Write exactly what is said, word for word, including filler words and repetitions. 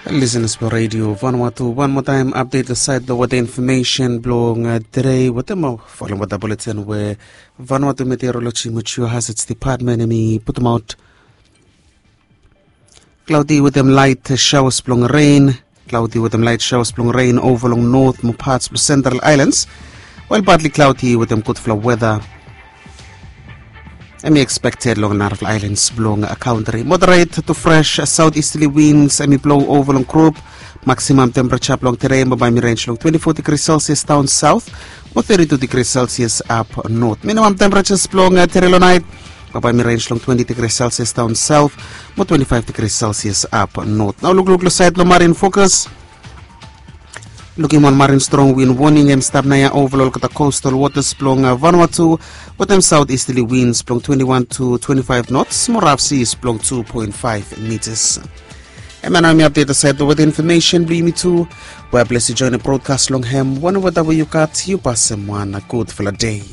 Listeners blong Radio Vanuatu, wan moa taem update lo sait lo weta infomesen blong tede wetem ol following weta bulletin we Vanuatu Meteorology Meteor Hazards Department hemi putumaot. Cloudy wetem light showers blong rain. Cloudy wetem light showers blong rain ova long north mo parts blong central islands, while partly cloudy wetem gudfala weta hemi expected long narafala islands blong country. Moderate to fresh southeasterly winds hemi blow ova long group. Maximum temperature blong tede mo bae hemi range long twenty-four degrees Celsius down south mo thirty-two degrees Celsius up north. Minimum temperatures blong tede long nait mo bae hemi range long twenty degrees Celsius down south mo twenty-five degrees Celsius up north. Nao lukluk long sait blong marine focus. Lukim wan marine strong wind warning hemi stap naoia ova long olgeta coastal waters blong Vanuatu wetem southeasterly winds blong twenty-one to twenty-five knots mo rough seas blong two point five meters. Hemia nao hemi update lo sait blong weta infomesen blong yumi tu. We bless yu join lo broadcast long hem wan weta we yu gat, yu pasem wan gudfala dei.